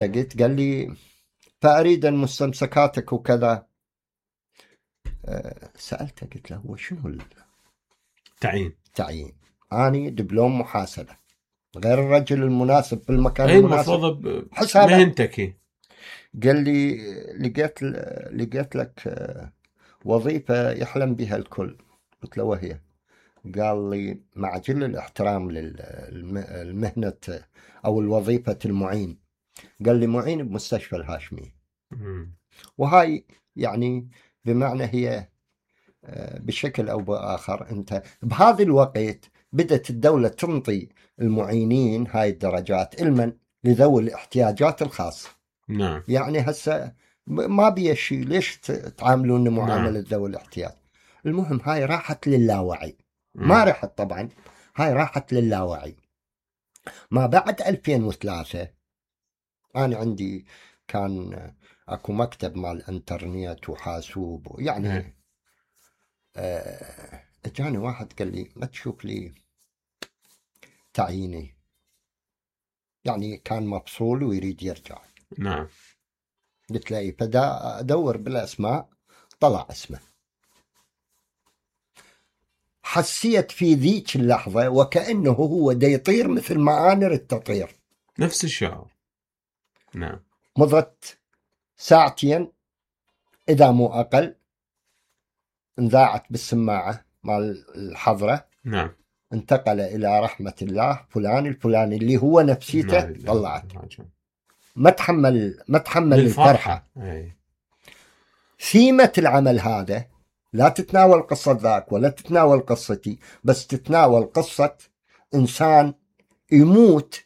لقيت قال لي فأريد مستمسكاتك وكذا. سألته قلت له هو شنو التعيين؟ أنا دبلوم محاسبة، غير الرجل المناسب في المكان المناسب المفروض حسابه مهنتك. قال لي لقيت لك وظيفة يحلم بها الكل. قلت له وهي؟ قال لي مع جل الاحترام للمهنة أو الوظيفة المعين، قال لي معين بمستشفى الهاشمي. وهاي يعني بمعنى هي بشكل أو بآخر أنت بهذا الوقت بدأت الدولة تنطي المعينين هاي الدرجات علما لذوي الاحتياجات الخاصة. نعم. يعني هسه ما بيه شيء، ليش تعاملون معاملة ذوي الاحتياج؟ المهم هاي راحت للاوعي. ما رحت طبعا، هاي راحت للاوعي. ما بعد 2003 أنا عندي كان أكو مكتب مال انترنت وحاسوب يعني اجاني واحد قال لي ما تشوف لي تعييني، يعني كان مفصول ويريد يرجع. نعم. قلت له فدا ادور بالاسماء، طلع اسمه. حسيت في ذيك اللحظة وكأنه هو دا يطير مثل ما أنا ردت أطير، نفس الشعور. نعم. مضت ساعتين إذا مو أقل، انذاعت بالسماعة مال الحضرة. نعم. انتقل إلى رحمة الله فلان الفلاني اللي هو نفسيته نعم. طلعت. ما تحمل الفرحة. ثيمة العمل هذا لا تتناول قصة ذاك ولا تتناول قصتي، بس تتناول قصة إنسان يموت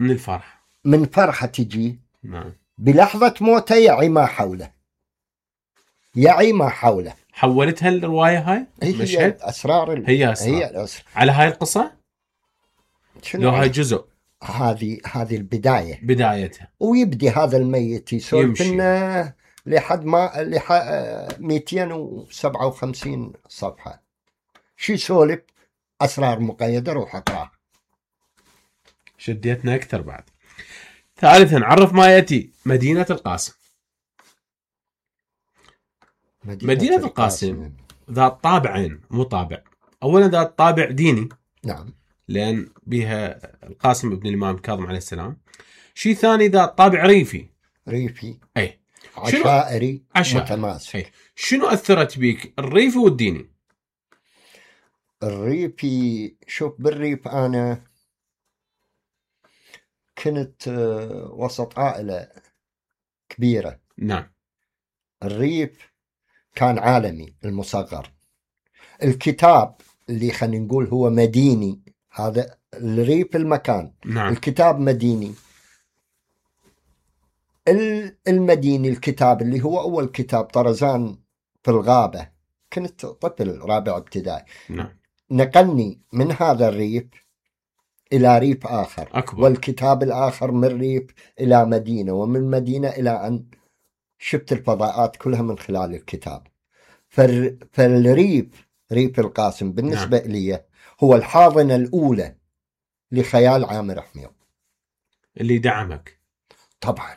من الفرح، من فرحة تجي. نعم. بلحظة موته يعي ما حوله، يعي ما حوله. حولتها الرواية هاي هي أسرار هي أسرار على هاي القصة. لو هاي جزء، هذه البداية بدايتها، ويبدي هذا الميت يسولف لنا لحد ما 257 صفحة. شي سولف أسرار مقيدة، روح أقرأ. شديتنا أكثر بعد. ثالثا عرف ما يأتي. مدينة القاسم. مدينة القاسم ذات طابعين، مو طابع. أولا ذات طابع ديني، نعم، لأن بها القاسم ابن الإمام كاظم عليه السلام. شيء ثاني ذات طابع ريفي. أي عشائري متماسك. أي. شنو أثرت بيك الريفي والديني؟ الريفي، شوف بالريف أنا كنت وسط عائلة كبيرة. نعم. الريف كان عالمي المصغر. الكتاب اللي خلينا نقول هو مديني، هذا الريف المكان. نعم. الكتاب مديني. المديني الكتاب اللي هو أول كتاب طرزان في الغابة، كنت طفل رابع ابتدائي. نعم. نقلني من هذا الريف إلى ريف آخر أكبر. والكتاب الآخر من ريف إلى مدينة، ومن مدينة إلى أن شفت الفضاءات كلها من خلال الكتاب. فالريف، ريف القاسم بالنسبة لي هو الحاضنة الأولى لخيال عامر حمير اللي دعمك طبعا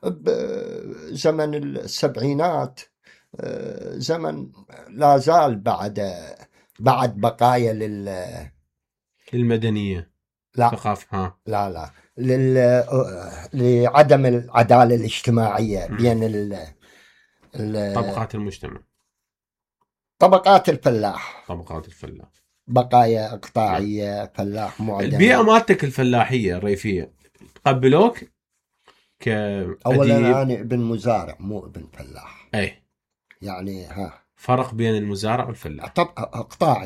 بزمن السبعينات. زمن لا زال بعد بقايا للمدنية، لا ثقافة. لا لعدم العدالة الاجتماعية بين طبقات المجتمع، طبقات الفلاح، بقايا اقطاعية. فلاح معدم. البيئة مالتك الفلاحية الريفية تقبلوك كأديب؟ أولا أنا ابن مزارع مو ابن فلاح. أي يعني فرق بين المزارع والفلاح. طب اقطاع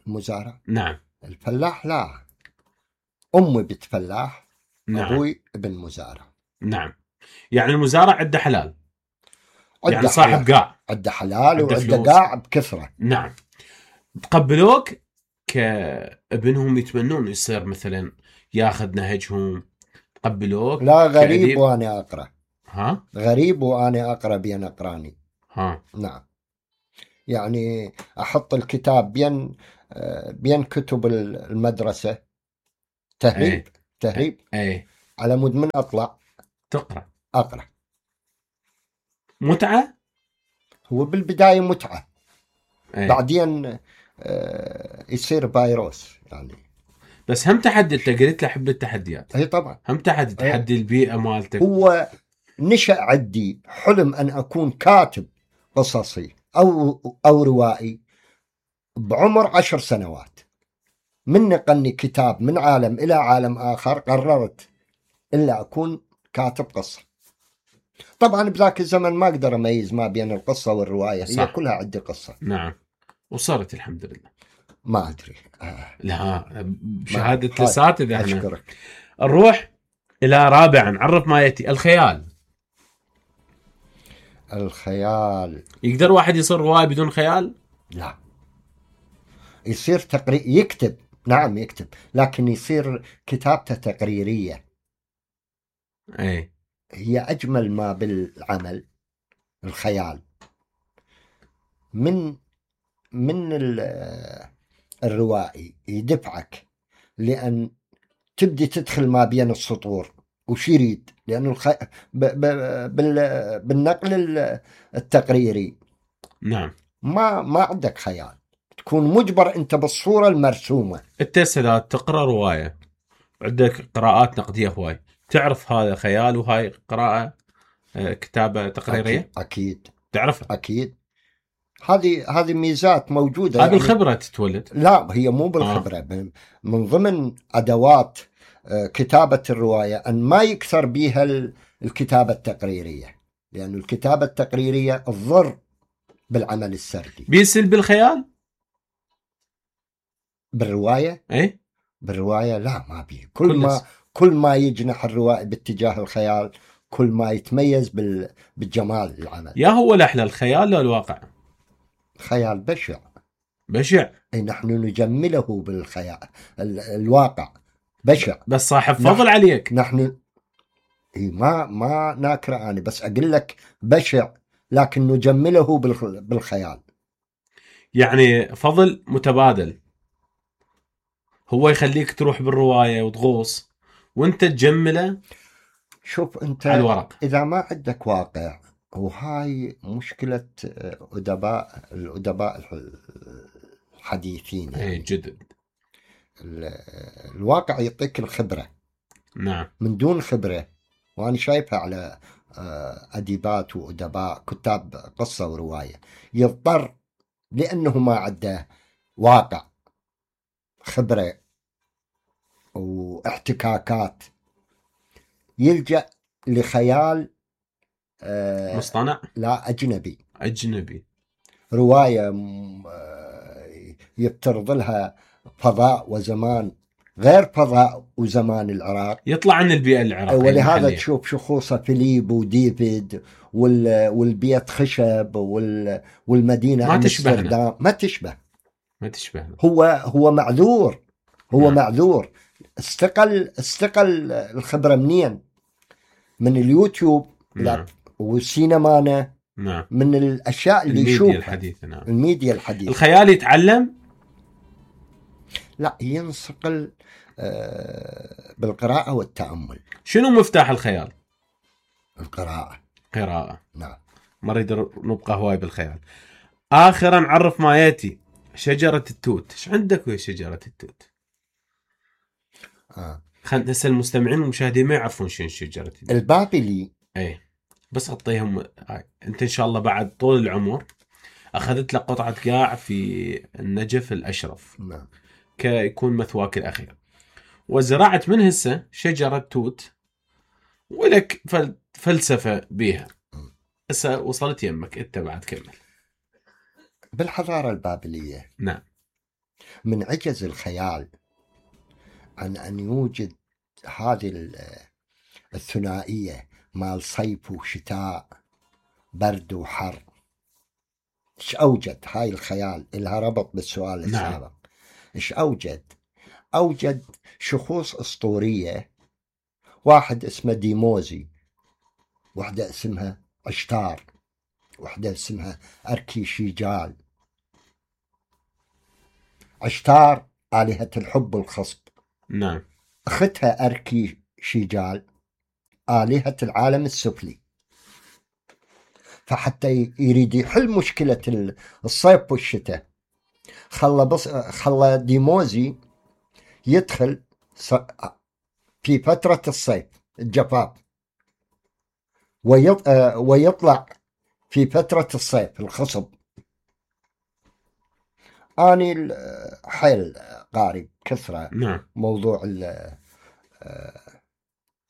المزارع. نعم. الفلاح لا، أمي بنت فلاح. نعم. أبوي ابن مزارع. نعم. يعني المزارع عنده حلال، يعني صاحب حلال. قاع، عنده حلال وعنده قاع بكثرة. نعم. تقبلوك كابنهم، يتمنون يصير مثلا ياخذ نهجهم؟ تقبلوك؟ لا، غريب وانا اقرا. ها؟ غريب وانا اقرا بين اقراني. ها؟ نعم. يعني احط الكتاب بين كتب المدرسة. تهريب. أي. على مود من أطلع تقرأ. أقرأ. متعة؟ هو بالبداية متعة، أي. بعدين يصير فيروس يعني. بس هم تحدي، انت قلت له احب التحديات. اي طبعا. هم تحدي البيئة مالتك. هو نشأ عندي حلم أن أكون كاتب قصصي أو روائي بعمر 10 سنوات. من نقلني كتاب من عالم إلى عالم آخر قررت إلا أكون كاتب قصة. طبعا بذاك الزمن ما أقدر أميز ما بين القصة والرواية، صح. هي كلها عندي قصة. نعم. وصارت الحمد لله. ما أدري. لا، بشهادة الأساتذة احنا. أشكرك. نروح إلى رابعا، عرف ما يأتي. الخيال. الخيال. يقدر واحد يصير رواية بدون خيال؟ لا، يصير يكتب. نعم يكتب، لكن يصير كتابته تقريرية. اي. هي أجمل ما بالعمل الخيال. من الروائي يدفعك لأن تبدي تدخل ما بين السطور وش يريد، لأنه بالنقل التقريري نعم ما عندك خيال، تكون مجبر أنت بالصورة المرسومة. انت هسه تقرأ رواية، عندك قراءات نقدية هواي، تعرف هذا خيال وهاي قراءة كتابة تقريرية؟ أكيد تعرفها؟ أكيد. هذه ميزات موجودة. هذه بالخبرة تتولد؟ لا، هي مو بالخبرة. من ضمن أدوات كتابة الرواية أن ما يكثر بها الكتابة التقريرية، لأن الكتابة التقريرية تضر بالعمل السردي. بيسل بالخيال؟ بالرواية؟ ايه بالرواية لا، ما بيه. كل ما يجنح الروائي باتجاه الخيال كل ما يتميز بالجمال العمل. يا هو الأحلى الخيال ولا الواقع؟ خيال بشع. بشع. أي نحن نجمله بالخيال. الواقع بشع. بس صاحب فضل عليك. نحن ما ناكره أنا، بس أقول لك بشع لكن نجمله بالخيال. يعني فضل متبادل، هو يخليك تروح بالرواية وتغوص وانت تجمله. شوف انت على الورق. اذا ما عندك واقع، وهاي مشكلة الأدباء الحديثين يعني. جدد. الواقع يعطيك الخبرة. نعم. من دون خبرة، وأنا شايفها على أديبات وأدباء كتاب قصة ورواية، يضطر لأنه ما عنده واقع، خبرة واحتكاكات، يلجأ لخيال مصطنع. لا، أجنبي. رواية يفترض لها فضاء وزمان غير فضاء وزمان العراق، يطلع عن البيئة العراقية. ولهذا تشوف شخوصه فيليب وديفيد والبيت خشب والمدينة ما تشبهنا. ما تشبه. هو معذور. معذور. استقل الخبرة منين؟ من اليوتيوب. نعم. والسينما. نعم. من الأشياء اللي يشوفها. الميديا الحديثة. نعم. الميديا الحديثة. الخيال يتعلم؟ لا، ينصقل بالقراءة والتأمل. شنو مفتاح الخيال؟ قراءة. نعم. ما نريد نبقى هواي بالخيال. آخرا عرف ما يأتي. شجرة التوت. ايش عندك ويا شجرة التوت؟ خلنا نسأل المستمعين والمشاهدين ما يعرفون شنو شجرة التوت. البابلي. اي بس اعطيهم انت ان شاء الله بعد طول العمر اخذت لك قطعة قاع في النجف الاشرف. نعم. كيكون مثواك الاخير، وزرعت من هسه شجرة توت ولك فلسفة بيها. هسه وصلت يمك انت بعد كمل. بالحضارة البابلية. نعم. من عجز الخيال عن أن يوجد هذه الثنائية مال صيف وشتاء، برد وحر. إيش أوجد هاي الخيال؟ إلها ربط بالسؤال السابق. نعم. إيش أوجد شخوص أسطورية. واحد اسمه ديموزي، واحدة اسمها عشتار، واحدة اسمها أركي شيجال. عشتار آلهة الحب والخصب. نعم. أختها أركي شيجال آلهة العالم السفلي. فحتى يريد يحل مشكلة الصيف والشتاء خلى ديموزي يدخل في فترة الصيف الجفاف ويطلع في فترة الصيف الخصب. أني حيل قاري كثرة نعم. موضوع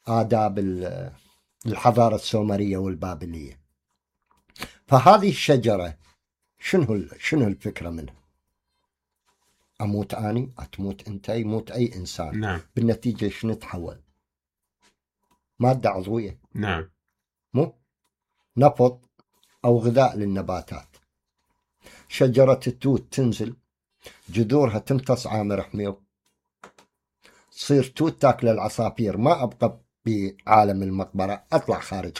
آداب الحضارة السومرية والبابلية. فهذه الشجرة شنو الفكرة منها؟ أموت أني، أتموت أنت، يموت أي إنسان. نعم. بالنتيجة شنو تحول؟ مادة عضوية. نعم. مو نفط أو غذاء للنباتات. شجرة التوت تنزل جذورها تمتص عامر حميو، تصير توت تاكل العصافير. ما أبقى بعالم المقبرة، أطلع خارج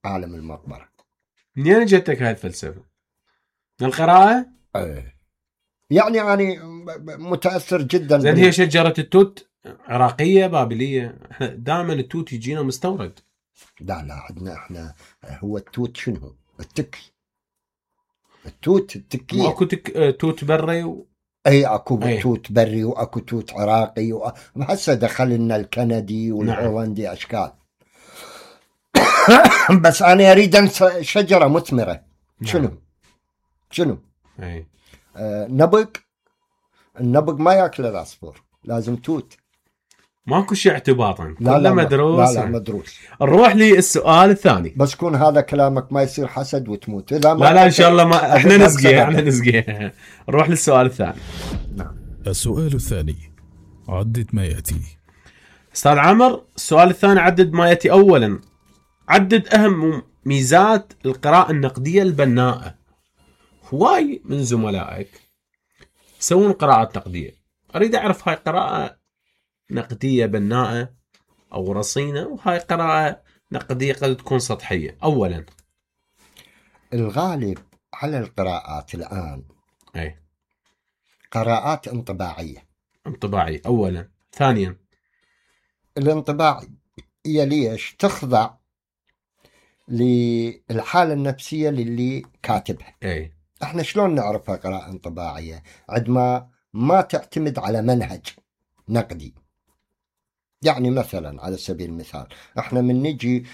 عالم المقبرة. منين جتك هاي الفلسفة؟ من القراءة؟ يعني أنا متأثر جدا. زين هي شجرة التوت عراقية بابلية؟ دائما التوت يجينا مستورد. لا عندنا احنا هو التوت شنو؟ التكي. التوت التكية. اكو توت بري اي اكو توت بري واكو توت عراقي هسه دخل لنا الكندي والهولندي. نعم. اشكال. بس انا اريد شجرة مثمرة. نعم. شنو؟ اي النبق ما ياكل العصفور، لازم توت. ماكو شيء اعتباطا، لا مدروس. لا مدروس. نروح للسؤال الثاني. بس كون هذا كلامك ما يصير حسد وتموت. إذا ما لا ان شاء الله ما احنا نسقي. نروح للسؤال الثاني. نعم. السؤال الثاني، عدد ما يأتي. استاذ عمر، السؤال الثاني عدد ما يأتي. اولا، عدد اهم ميزات القراءة النقدية البناءة. هواي من زملائك يسوون قراءات نقدية، اريد اعرف هاي قراءة نقدية بناءة او رصينة، وهاي قراءة نقدية قد تكون سطحية. اولا، الغالب على القراءات الان اي قراءات انطباعية. اولا. ثانيا، الانطباعية ليش؟ تخضع للحالة النفسية للي كاتبها. اي احنا شلون نعرفها قراءة انطباعية؟ عندما ما تعتمد على منهج نقدي. يعني مثلا على سبيل المثال احنا من نجي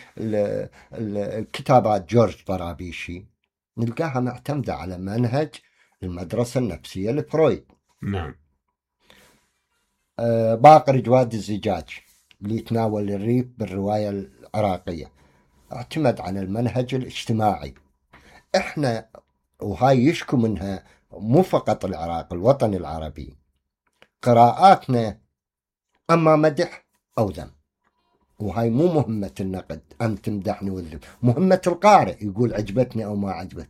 الكتابات جورج طرابيشي نلقاها معتمدة على منهج المدرسة النفسية لفرويد. نعم. باقر جواد الزجاج اللي يتناول الريف بالرواية العراقية اعتمد على المنهج الاجتماعي. احنا وهاي يشكو منها مو فقط العراق، الوطن العربي، قراءاتنا اما مدح او ذم. وهاي مو مهمة النقد ان تمدحني وتذم، مهمة القارئ يقول عجبتني او ما عجبت.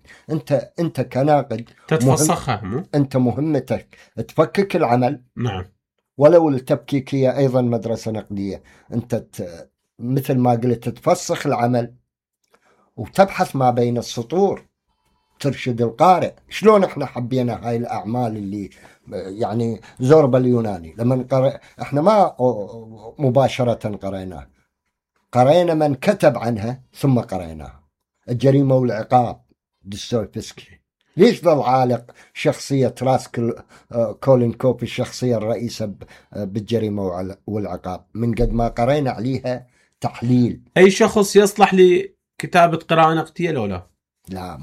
انت كناقد تتفسخها. انت مهمتك تفكك العمل. نعم. ولو التفكيك هي ايضا مدرسة نقدية. انت مثل ما قلت تفسخ العمل وتبحث ما بين السطور، ترشد القارئ. شلون احنا حبينا هاي الاعمال اللي يعني زوربا اليوناني لما احنا ما مباشرة قرينا من كتب عنها ثم قريناها. الجريمة والعقاب دستويفسكي. ليش ظل عالق شخصية راسكل كولين كوب الشخصية الرئيسة بالجريمة والعقاب من قد ما قرينا عليها تحليل. أي شخص يصلح لكتابة قراءة نقدية لو لا؟ لا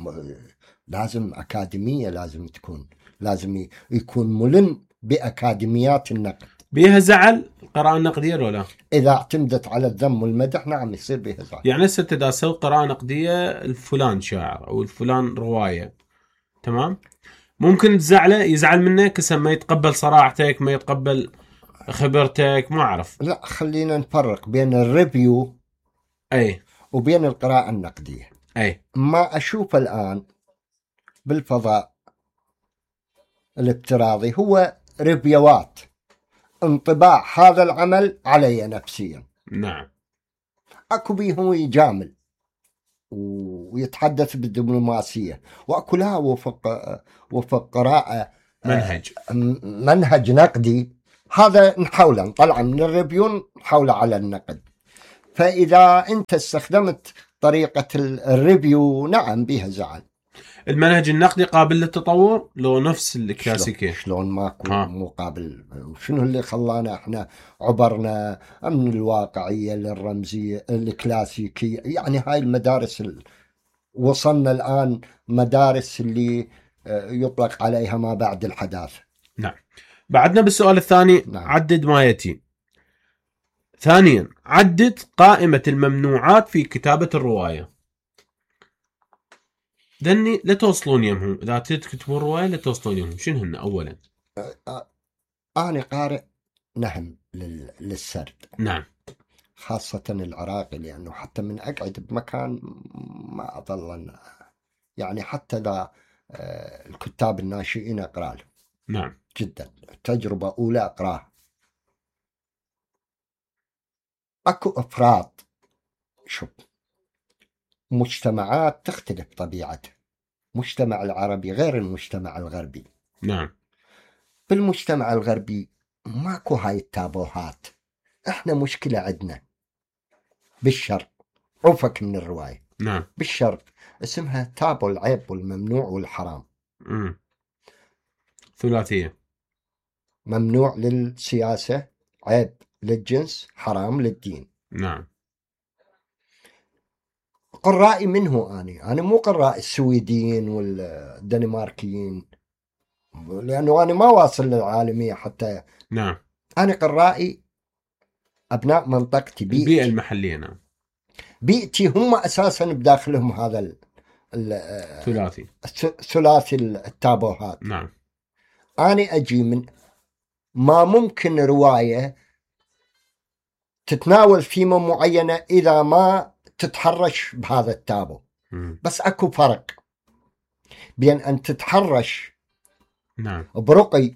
لازم أكاديمية، لازم تكون، لازم يكون ملم بأكاديميات النقد. بيها زعل القراءة النقدية لو لا؟ إذا اعتمدت على الذم والمدح نعم يصير بيها زعل. يعني هسه إذا أسوي قراءة نقدية الفلان شاعر أو الفلان رواية، تمام، ممكن يزعل منك هسه، ما يتقبل صراحتك، ما يتقبل خبرتك، ما أعرف. لا خلينا نفرق بين الريفيو أي وبين القراءة النقدية. أي ما أشوف الآن بالفضاء الافتراضي هو ريفيوات، انطباع هذا العمل علي نفسيا. نعم. أكو بيهم يجامل ويتحدث بالدبلوماسية، وأكو لا وفق قراءة منهج نقدي. هذا نحاول نطلع من الريفيو نحاول على النقد. فإذا أنت استخدمت طريقة الريفيو نعم بها زعل. المنهج النقدي قابل للتطور لو نفس الكلاسيكية؟ شلون ماكو مقابل؟ شنو اللي خلانا احنا عبرنا من الواقعية للرمزية الكلاسيكية؟ يعني هاي المدارس وصلنا الآن مدارس اللي يطلق عليها ما بعد الحداثة. نعم. بعدنا بالسؤال الثاني. نعم. عدد ما يأتي. ثانيا عدد قائمة الممنوعات في كتابة الرواية. دني لا توصلون يمهم إذا تكتبون رواية لا توصلون يمهم. شنو هن أولا؟ أنا قارئ نهم للسرد. نعم. خاصة العراقي، لأنه حتى من أقعد بمكان ما أظل يعني حتى ذا الكتاب الناشئين أقرأ لهم. نعم. جدا تجربة أولى أقرأها. أكو أفراد، شوف، مجتمعات تختلف طبيعتها. مجتمع العربي غير المجتمع الغربي. نعم. بالمجتمع الغربي ماكو هاي التابوهات. احنا مشكلة عندنا بالشرق، عفك من الرواية. نعم. بالشرق اسمها تابو العيب والممنوع والحرام. ثلاثية. ممنوع للسياسة، عيب للجنس، حرام للدين. نعم. قرائي منه أنا مو قراء السويديين والدنماركيين، لأنه أنا ما واصل للعالمية حتى. نعم. أنا قرائي أبناء منطقتي، البيئة المحلية. نعم. بيئتي هم أساسا بداخلهم هذا ثلاثي التابوهات. نعم. أنا أجي من ما ممكن رواية تتناول ثيمة معينة إذا ما تتحرش بهذا التابو. بس أكو فرق بين أن تتحرش نعم برقي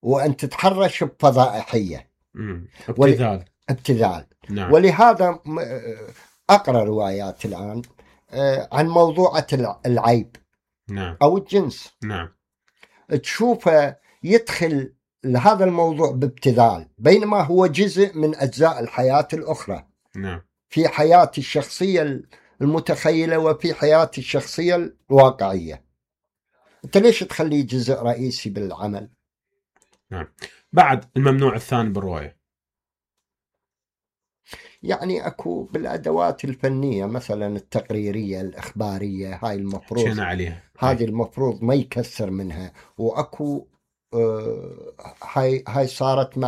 وأن تتحرش بفضائحية. ابتذال. نعم. ولهذا أقرأ روايات الآن عن موضوعة العيب. نعم. أو الجنس. نعم. تشوفه يدخل لهذا الموضوع بابتذال، بينما هو جزء من أجزاء الحياة الأخرى. نعم. في حياتي الشخصية المتخيلة وفي حياتي الشخصية الواقعية. أنت ليش تخليه جزء رئيسي بالعمل؟ نعم. بعد الممنوع الثاني بالرواية، يعني أكو بالأدوات الفنية مثلا التقريرية الإخبارية، هاي المفروض عليها. هذه المفروض ما يكثر منها. وأكو هاي صارت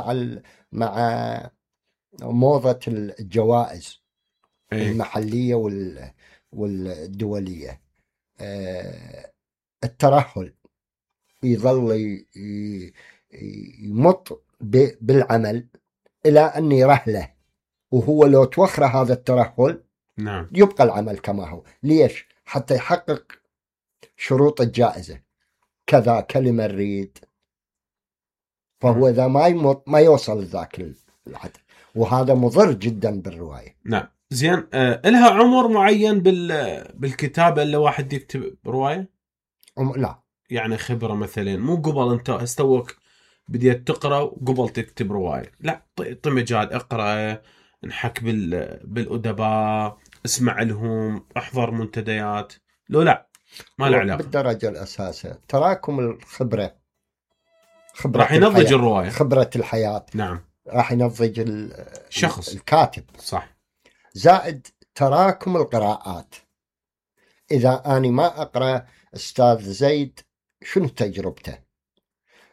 مع موضة الجوائز المحلية والدولية. الترهل يظل يمط بالعمل إلى أن يرهله، وهو لو توخر هذا الترهل نعم يبقى العمل كما هو. ليش؟ حتى يحقق شروط الجائزة، كذا كلمة نريد. فهو إذا ما يمط ما يوصل ذاك العدد، وهذا مضر جدا بالرواية. نعم. زين، إلها عمر معين بالكتابة اللي واحد يكتب رواية؟ لا، يعني خبرة مثلا، مو قبل أنت استوك بديت تقرأ وقبل تكتب رواية، لا، طمجات اقرأ، انحك بالأدباء، اسمع لهم، احضر منتديات. لا ما له علاقة. بالدرجة الأساسية تراكم الخبرة راح ينضج الرواية، خبرة الحياة. نعم. راح ينضج الشخص الكاتب، صح. زائد تراكم القراءات. إذا أنا ما أقرأ أستاذ زيد شنو تجربته،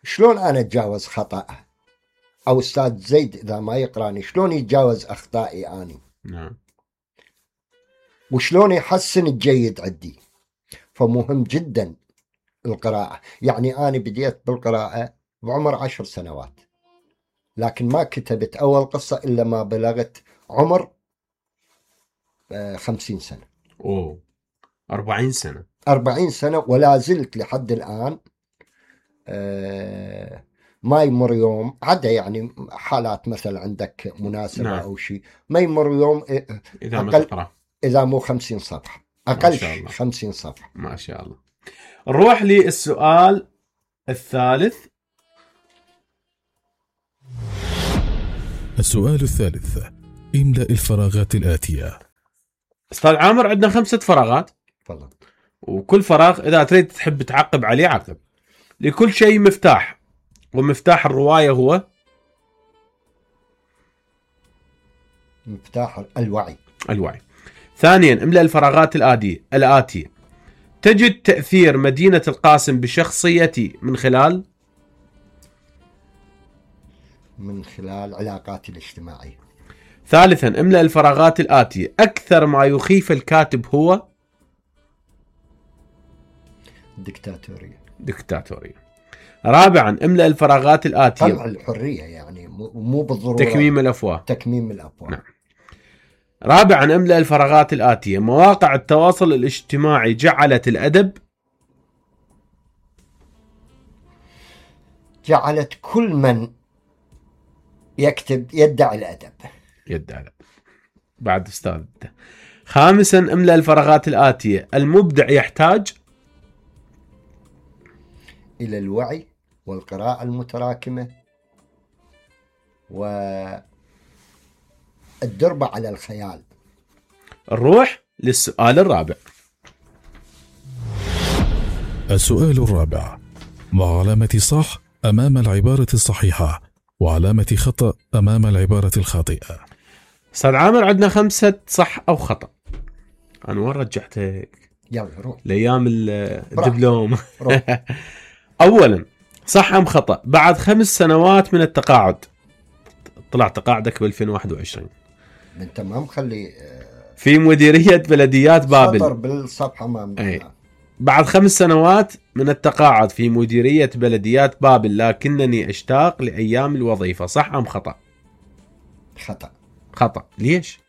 شلون أنا أتجاوز خطأه، أو أستاذ زيد إذا ما يقرأني شلون يتجاوز أخطائي أنا. نعم. وشلون يحسن الجيد عندي. فمهم جدا القراءة. يعني أنا بديت بالقراءة بعمر 10 سنوات، لكن ما كتبت أول قصة إلا ما بلغت عمر 50 سنة. 40 سنة. 40 سنة ولا زلت لحد الآن. ما يمر يوم عدا يعني حالات مثلا عندك مناسبة نعم. أو شيء، ما يمر يوم إذا ما تقرأ، إذا مو 50 صفحة أقل 50 صفحة. ما شاء الله. نروح للسؤال الثالث. السؤال الثالث: املأ الفراغات الآتية. استاذ عامر عندنا 5 فراغات، تفضل. وكل فراغ اذا تريد تحب تعقب عليه عقب. لكل شيء مفتاح، ومفتاح الرواية هو مفتاح الوعي. الوعي. ثانيا املأ الفراغات الآتية. تجد تأثير مدينة القاسم بشخصيتي من خلال علاقاتي الاجتماعية. ثالثا املأ الفراغات الآتية. أكثر ما يخيف الكاتب هو ديكتاتورية. رابعا املأ الفراغات الآتية. طلع الحرية يعني مو بالضرورة تكميم الأفواه. نعم. رابعا املأ الفراغات الآتية. مواقع التواصل الاجتماعي جعلت كل من يكتب يدعي الأدب. بعد أستاذ. خامسا املأ الفراغات الآتية. المبدع يحتاج إلى الوعي والقراءة المتراكمة والدربة على الخيال. نروح للسؤال الرابع. السؤال الرابع: مع علامة صح أمام العبارة الصحيحة وعلامة خطأ أمام العبارة الخاطئة. أستاذ عامر عندنا 5 صح أو خطأ. أنا وين رجعتك؟ يلا روح لأيام الدبلوم. أولا صح أم خطأ؟ بعد 5 سنوات من التقاعد، طلع تقاعدك ب 2021، انت ما مخلي في مديرية بلديات بابل. سطر بالصفحة بعد 5 سنوات من التقاعد في مديرية بلديات بابل، لكنني أشتاق لأيام الوظيفة. صح أم خطأ؟ خطأ. ليش؟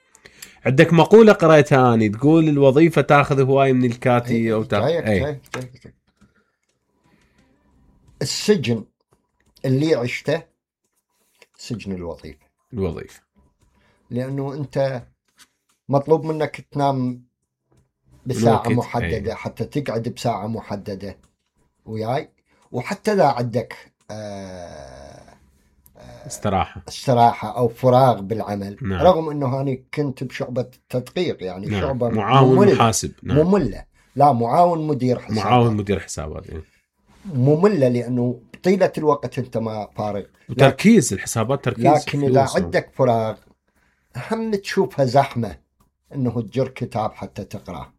عندك مقولة قرأتها أني تقول الوظيفة تأخذ هواي من الكاتي أو السجن اللي عشته سجن الوظيفة، لأنه أنت مطلوب منك تنام بساعة محددة. حتى تقعد بساعة محددة وياي، وحتى لا عندك استراحة أو فراغ بالعمل. نعم. رغم أنه أنا كنت بشعبة تدقيق يعني. نعم. شعبة معاون محاسب. نعم. مملة. لا، معاون مدير حسابات. مملة لأنه طيلة الوقت أنت ما فارغ. وتركيز الحسابات تركيز. لكن إذا عندك فراغ هم تشوفها زحمة أنه تجر كتاب حتى تقرأ.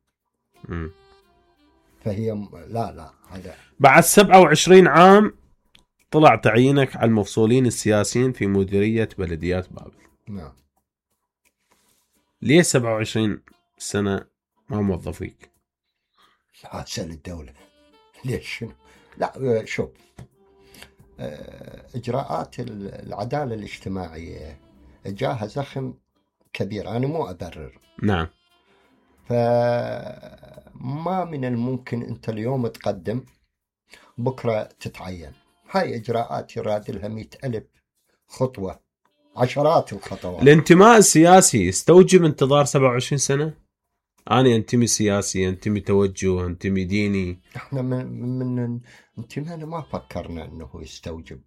فهي لا هذا. بعد 27 عام طلع تعيينك على المفصولين السياسيين في مديرية بلديات بابل. نعم. ليه 27 سنة ما موظفيك؟ سأل الدولة ليش؟ لا شوف، إجراءات العدالة الاجتماعية جاها زخم كبير. أنا مو أبرر. نعم. فما من الممكن أنت اليوم تقدم بكرة تتعين. هاي إجراءات يراد لها 100,000 خطوة، عشرات الخطوات. الانتماء السياسي يستوجب انتظار 27 سنة؟ أنا أنتمي سياسي، أنتمي توجه، أنتمي ديني. إحنا من انتمائنا ما فكرنا أنه يستوجب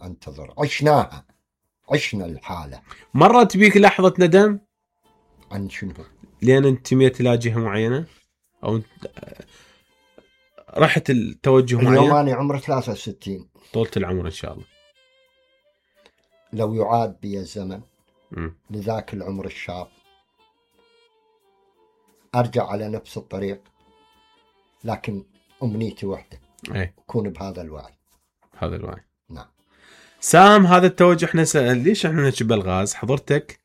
انتظر. عشنا الحالة. مرت بيك لحظة ندم؟ عن شنو؟ لأن انتميت إلى جهة معينة أو رحت التوجه معين؟ اليوم أنا عمري 63. طولة العمر إن شاء الله. لو يعاد بي الزمن لذاك العمر الشاب أرجع على نفس الطريق، لكن أمنيتي واحدة، أكون بهذا الوعي. نعم. سام، هذا التوجه احنا ليش احنا نجيب الغاز؟ حضرتك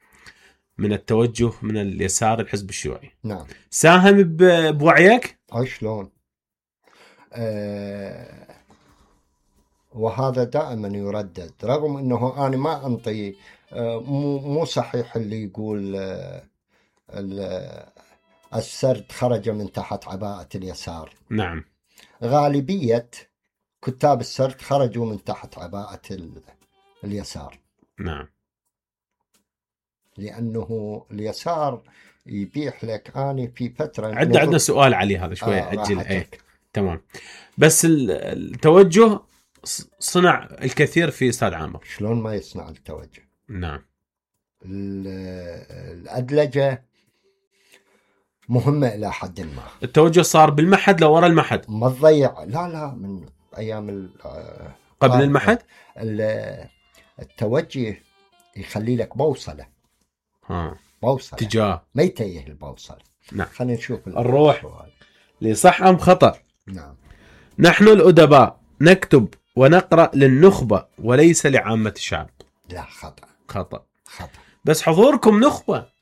من التوجه من اليسار الحزب الشيوعي. نعم. ساهم بوعيك؟ شلون؟ وهذا دائما يردد، رغم انه انا ما انطي مو صحيح اللي يقول السرد خرج من تحت عباءة اليسار. نعم. غالبية كتاب السرد خرجوا من تحت عباءة اليسار. نعم. لأنه اليسار يبيح لك. أنا في فترة عندنا سؤال عليه هذا شوية أجل. تمام. بس التوجه صنع الكثير في أستاذ عامر. شلون ما يصنع التوجه؟ نعم. الأدلجة مهمة إلى حد ما. التوجه صار بالمحد لورا المحد، ما تضيع. لا من أيام قبل المحد التوجه يخلي لك بوصلة. بوصلة اتجاه، ما يتيه البوصلة. نعم. خلينا نشوف الروح لصح أم خطأ. نعم. نحن الأدباء نكتب ونقرأ للنخبة وليس لعامة الشعب. لا، خطأ. خطأ. خطأ. بس حضوركم نخبة.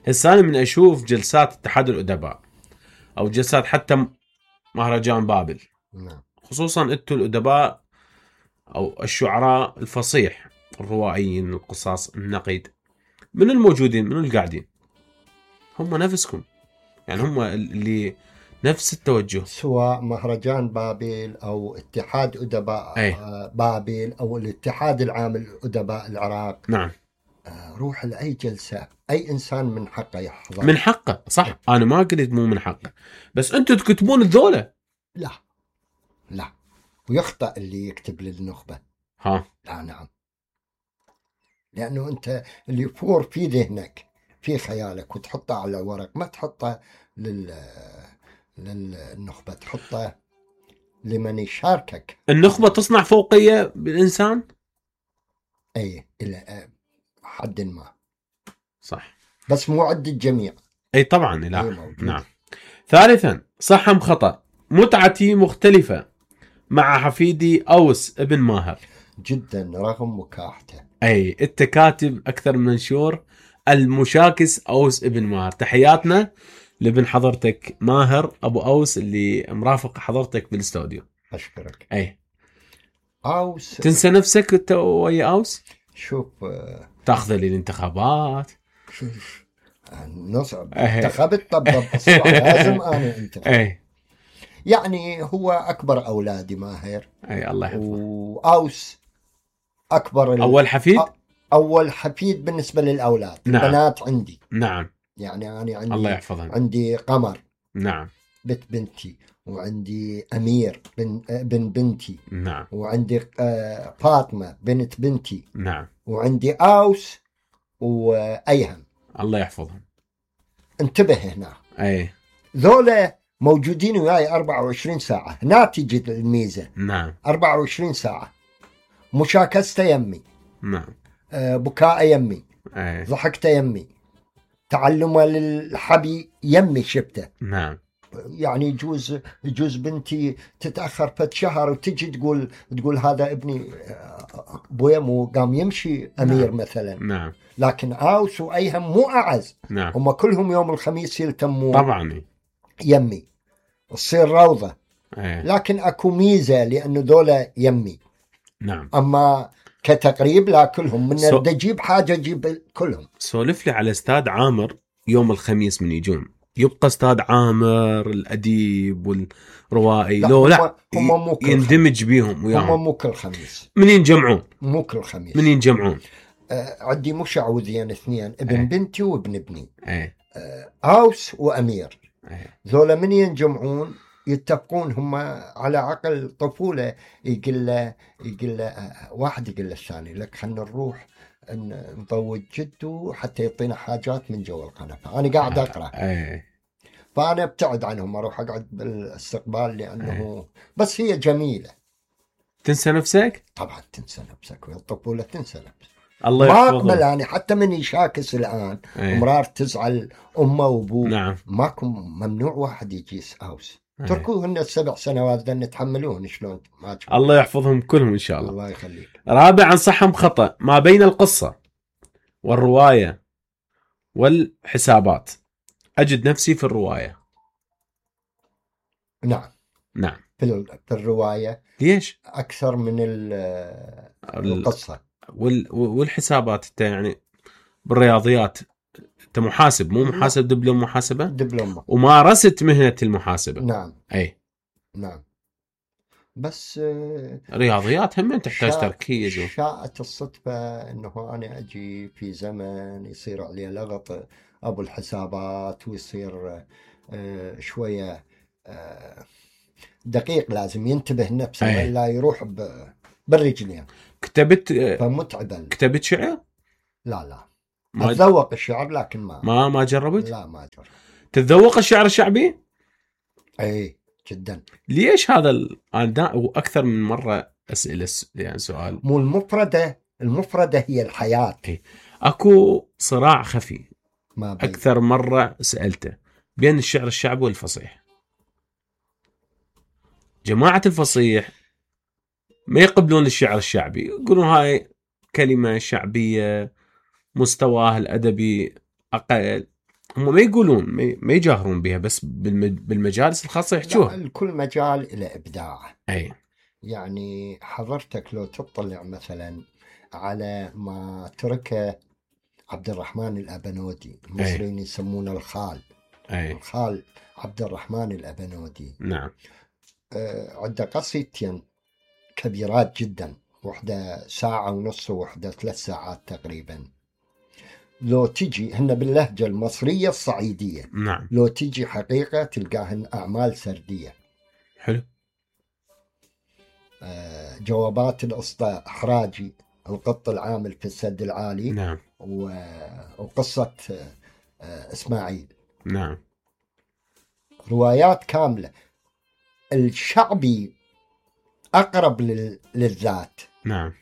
هسه أنا من أشوف جلسات اتحاد الأدباء أو جلسات حتى مهرجان بابل، نعم. خصوصا أنتوا الأدباء أو الشعراء الفصيح، الروائيين، القصاص، النقيد، من الموجودين، من القاعدين، هم نفسكم، يعني هم اللي نفس التوجه. سواء مهرجان بابل أو اتحاد أدباء بابل أو الاتحاد العام لأدباء العراق. نعم. روح لأي جلسة، أي إنسان من حقه يحضر. من حقه، صح. أنا ما قلت مو من حقه، بس أنتوا تكتبون الذولة. لا، ويخطأ اللي يكتب للنخبة. لا، نعم. لأنه أنت اللي يفور في ذهنك، في خيالك، وتحطه على ورق، ما تحطه للنخبة، تحطه لمن يشاركك. النخبة تصنع فوقية بالإنسان، أي إلى حد ما، صح، بس مو عد الجميع. أي طبعا. لا. نعم. ثالثا، صح أم خطأ، متعتي مختلفة مع حفيدي أوس ابن ماهر. جدا، رغم مكاحته. أي التكاتب أكثر من منشور، المشاكس أوس ابن ماهر. تحياتنا لابن حضرتك ماهر أبو أوس اللي مرافق حضرتك بالاستوديو. أشكرك. أي أوس، تنسى نفسك ويا أوس؟ شوف، تاخذ لي الانتخابات. نصب انتخبت. طب لازم أنا انتخب. يعني هو أكبر أولادي ماهر. الله يحفظه. وأوس أكبر أول حفيد. أول حفيد بالنسبة للأولاد. نعم. البنات عندي. نعم. يعني أنا عندي، الله يحفظهم، عندي قمر. نعم. بنتي، وعندي أمير بن بنتي. نعم. وعندي فاطمة بنت بنتي. نعم. وعندي أوس وأيهم. الله يحفظهم. انتبه هنا. أي ذولا موجودين وياي 24 ساعة. هنا تجي الميزة. نعم. 24 ساعة. مشاكسته يمي. نعم. بكاء يمي. ضحكته يمي. تعلمه للحبي يمي شبته. نعم. يعني يجوز بنتي تتأخر فت شهر وتجي تقول هذا ابني بويا مو قام يمشي أمير. نعم. مثلا. نعم. لكن أوس وأيهم مو أعز. نعم. هم كلهم يوم الخميس يلتمون طبعا يمي، تصير روضة. لكن أكو ميزة لأنه ذولا يمي. نعم. أما كتقريب لا، كلهم من تجيب حاجة جيب كلهم. سولف لي على استاذ عامر يوم الخميس من يجون. يبقى استاذ عامر الأديب والروائي لا هم يندمج بيهم وياهم. هم مو كل خميس. من ينجمعون؟ مو كل خميس. من ينجمعون؟ عندي مشعوذين اثنين، ابن بنتي وابن ابني. أوس وأمير. ذولا من ينجمعون يتفقون هم على عقل طفولة. يقول له واحد يقول له الثاني لك خلنا نروح نضوج جده حتى يعطينا حاجات من جو القنفة. أنا قاعد أقرأ. فأنا ابتعد عنهم، أروح أقعد بالاستقبال لأنه بس هي جميلة. تنسى نفسك؟ طبعا تنسى نفسك، والطفولة تنسى نفسك. الله ما يحفظه. أقبل يعني حتى من يشاكس الآن مرار تزعل أمه وأبوه. نعم. ماكو، ممنوع واحد يجيس أوس. تركوهن 7 سنوات ذن نتحملوهن شلون. الله يحفظهم كلهم إن شاء الله. الله يخليك. رابعا، صح خطأ، ما بين القصة والرواية والحسابات أجد نفسي في الرواية. نعم. نعم. في الرواية. ليش؟ أكثر من القصة والحسابات. انت يعني بالرياضيات انت محاسب، مو محاسب دبلوم محاسبة؟ دبلوم. ومارست مهنة المحاسبة. نعم. أي نعم. بس رياضيات هم تحتاج تركيز. شاءت الصدفة أنه أنا أجي في زمن يصير عليه لغط أبو الحسابات، ويصير شوية دقيق، لازم ينتبه نفسه ولا يروح بالرجلين. كتبت فمتعبا. كتبت شعر؟ لا اتذوق الشعر لكن ما جربت؟ لا ما جربت. تتذوق الشعر الشعبي؟ اي جدا. ليش هذا انا واكثر من مره اسئله يعني سؤال. مو المفرده هي الحياه. اكو صراع خفي ما بين. اكثر مره سالته بين الشعر الشعبي والفصيح. جماعه الفصيح ما يقبلون الشعر الشعبي، يقولون هاي كلمه شعبيه مستواها الادبي اقل. هم ما يقولون، ما يجاهرون بها، بس بالمجالس الخاصه يحكوها. كل مجال الى ابداع. اي يعني حضرتك لو تطلع مثلا على ما تركه عبد الرحمن الأبنودي، المصريين يسمونه الخال. الخال عبد الرحمن الأبنودي. نعم. عنده قصيدتين كبيرات جدا، وحدة 1.5 ساعة ووحدة 3 ساعات تقريبا. لو تجي هن باللهجة المصرية الصعيدية. نعم. لو تجي حقيقة تلقاهن أعمال سردية. حلو. جوابات الأسطى حراجي، القط العامل في السد العالي. نعم. وقصة إسماعيل. نعم. روايات كاملة. الشعبي أقرب للذات. نعم.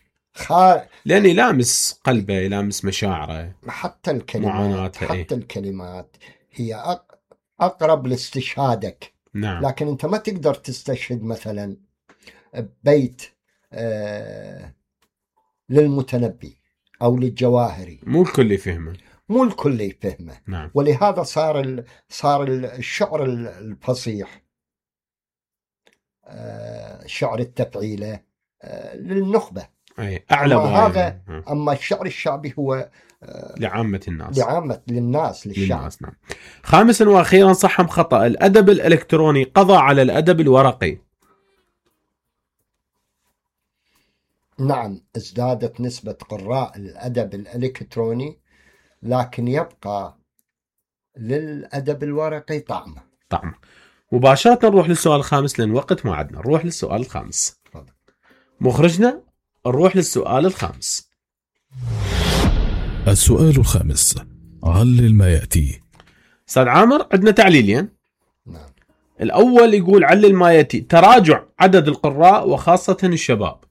لأن يلامس قلبه، يلامس مشاعره، حتى الكلمات. حتى الكلمات هي أقرب لاستشهادك. نعم. لكن أنت ما تقدر تستشهد مثلا بيت للمتنبي أو للجواهري. مو الكل يفهمه. مو الكل يفهمه. نعم. ولهذا صار الشعر الفصيح، شعر التفعيلة للنخبة. أي أعلى هذا. أما الشعر الشعبي هو لعامة الناس. للناس للشعب. نعم. خامسا وأخيرا، صح أم خطأ، الأدب الإلكتروني قضى على الأدب الورقي؟ نعم، ازدادت نسبة قراء الأدب الإلكتروني، لكن يبقى للأدب الورقي طعم. مباشرة نروح للسؤال الخامس لأن وقت ما عدنا. نروح للسؤال الخامس. مخرجنا نروح للسؤال الخامس. السؤال الخامس، علل ما يأتي. أستاذ عامر، عندنا تعليلين. نعم. الأول يقول علل ما يأتي: تراجع عدد القراء وخاصة الشباب.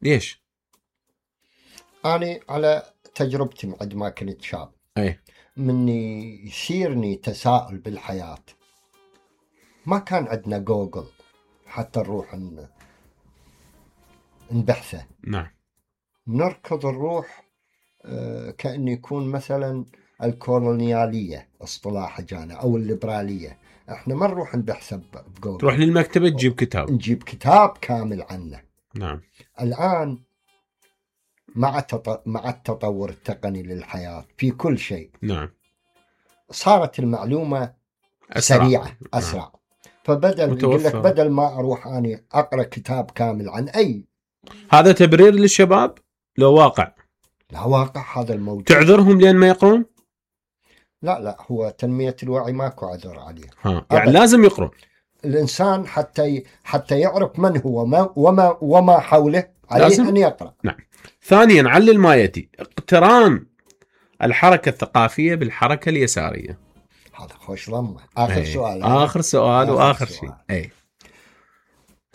ليش؟ أنا على تجربتي عندما كنت شاب، مني يصيرني تساؤل بالحياة. ما كان عندنا جوجل حتى نروح نبحثه. نعم. نركض نروح كأن يكون مثلا الكولونيالية اصطلاح جانا أو الليبرالية. احنا ما نروح نبحثه بجوجل. تروح للمكتبة تجيب كتاب. نجيب كتاب كامل عنه. نعم. الآن مع التطور التقني للحياة في كل شيء. نعم. صارت المعلومة سريعة أسرع. نعم. فبدل يقول لك بدل ما أروح أنا أقرأ كتاب كامل عن أي. هذا تبرير للشباب لو واقع؟ لا واقع هذا الموجود. تعذرهم لين ما يقرون؟ لا هو تنمية الوعي ماكو عذر عليه. يعني لازم يقرأ الإنسان حتى يعرف من هو وما حوله، عليه لازم أن يقرأ. نعم. ثانيا، علل ما يأتي: اقتران الحركة الثقافية بالحركة اليسارية. هذا خوش ضمه. آخر سؤال. آخر سؤال وآخر شيء.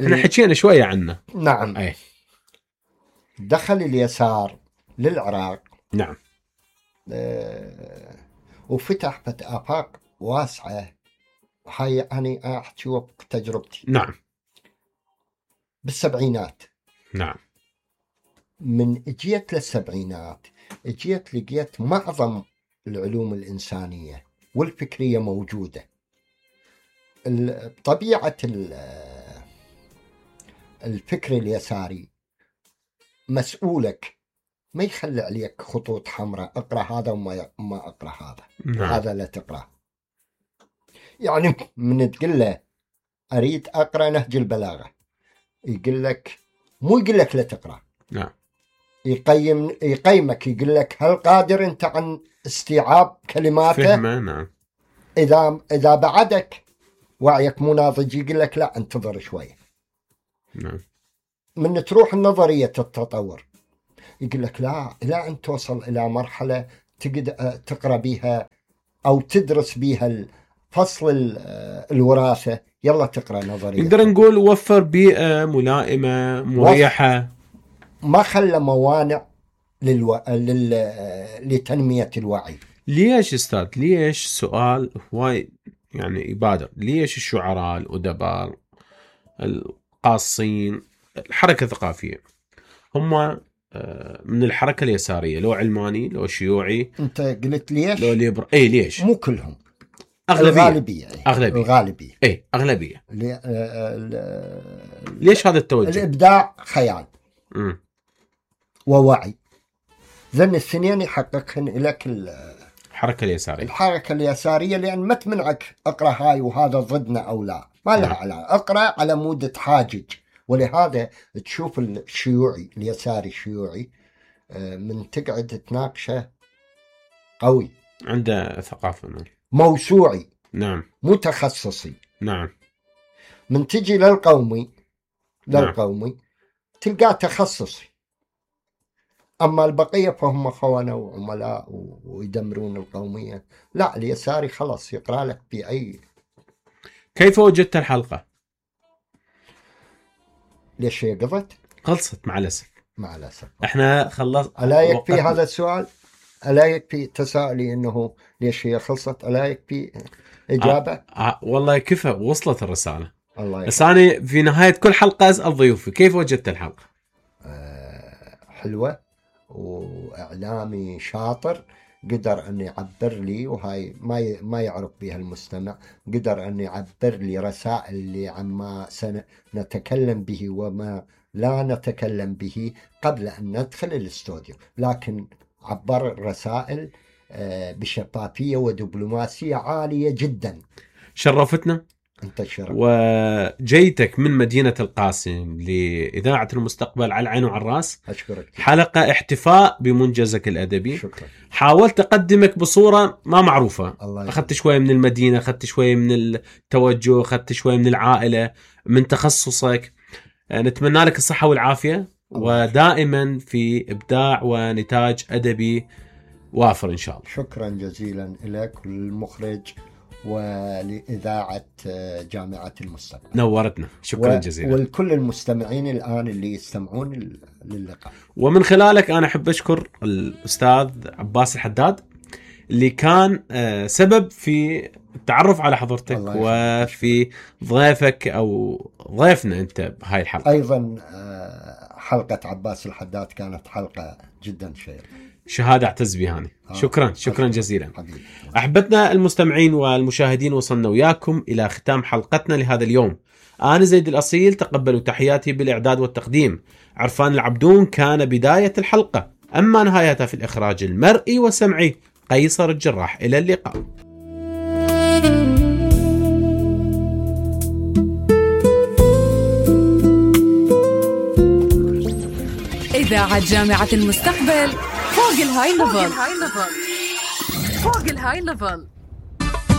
احنا حكينا شوية عنه. نعم. دخل اليسار للعراق. نعم. وفتح آفاق واسعة. هاي أنا أحكي وقت تجربتي. نعم. بالسبعينات. نعم. من اجيت للسبعينات لقيت معظم العلوم الإنسانية والفكرية موجودة. طبيعة الفكر اليساري مسؤولك، ما يخلي عليك خطوط حمراء، اقرأ هذا وما اقرأ هذا. نعم. هذا لا تقرأ. يعني من تقول له أريد أقرأ نهج البلاغة، يقول لك مو يقول لك لا تقرأ. نعم. يقيمك، يقول لك هل قادر أنت عن استيعاب كلماته؟ فهمه. نعم. إذا بعدك وعيك مو ناضج يقول لك لا انتظر شوية. نعم. من تروح النظرية التطور يقول لك لا، إلى أن توصل إلى مرحلة تقدر تقرأ بها أو تدرس بها فصل الوراثة، يلا تقرأ نظرية. نقدر نقول وفر بيئة ملائمة مريحة، ما خلى موانع لتنمية الوعي. ليش أستاذ؟ ليش سؤال هواي يعني يبادر، ليش الشعراء الأدباء القاصين الحركة الثقافية هم من الحركة اليسارية، لو علماني لو شيوعي؟ أنت قلت ليش؟ لو ليبر. أي ليش؟ مو كلهم، الغالبية. الغالبية. أي أغلبية. ليش هذا التوجه؟ الإبداع خيال ووعي، ذن السنين يحققهن لك الحركة اليسارية. الحركة اليسارية، لأن ما تمنعك أقرأ هاي وهذا ضدنا أو لا، ما لها علاقة، أقرأ على مود تحاجج. ولهذا تشوف الشيوعي اليساري الشيوعي من تقعد تناقشه قوي، عنده ثقافة، موسوعي، نعم، متخصصي، نعم. من تجي للقومي تلقاه تخصصي. أما البقية فهم خونة وعملاء ويدمرون القومية. لا، اليساري خلاص يقرأ لك بأي. كيف وجدت الحلقة؟ ليش هي قضت؟ خلصت مع الأسف. مع الأسف. احنا خلص. ألا يكفي هذا السؤال؟ ألا يكفي تساؤلي إنه ليش هي خلصت؟ ألا يكفي إجابة؟ والله كفى، وصلت الرسالة. الله بس أنا في نهاية كل حلقة أسأل ضيوفي كيف وجدت الحلقة؟ حلوة، وإعلامي شاطر قدر أن يعبر لي، وهاي ما يعرف بها المستمع، قدر أن يعبر لي رسائل اللي عما سنتكلم به وما لا نتكلم به قبل أن ندخل الاستوديو، لكن عبر الرسائل بشفافية ودبلوماسية عالية جدا. شرفتنا. أنت شرف. وجيتك من مدينة القاسم لإذاعة المستقبل على العين وعلى الراس. أشكرك. حلقة احتفاء بمنجزك الأدبي. شكرا. حاولت أقدمك بصورة ما معروفة، أخذت شوية من المدينة، أخذت شوية من التوجه، أخذت شوية من العائلة، من تخصصك. نتمنى لك الصحة والعافية، ودائما في إبداع ونتاج أدبي وافر إن شاء الله. شكرا جزيلا لك والمخرج ولإذاعة جامعة المستقبل. نورتنا، شكرا جزيلا. والكل المستمعين الآن اللي يستمعون للقاء. ومن خلالك أنا أحب أشكر الأستاذ عباس الحداد اللي كان سبب في التعرف على حضرتك وفي ضيفك أو ضيفنا أنت بهاي الحلقة. أيضا حلقة عباس الحداد كانت حلقة جدا شيقة، شهادة اعتز بها أنا. شكرا جزيلا حبيبي. أحبتنا المستمعين والمشاهدين، وصلنا وياكم إلى ختام حلقتنا لهذا اليوم. أنا زيد الأصيل، تقبلوا تحياتي بالإعداد والتقديم. عرفان العبدون كان بداية الحلقة، أما نهايتها في الإخراج المرئي والسمعي قيصر الجراح. إلى اللقاء. إذاعة جامعة المستقبل، فوق الهاي ليفل.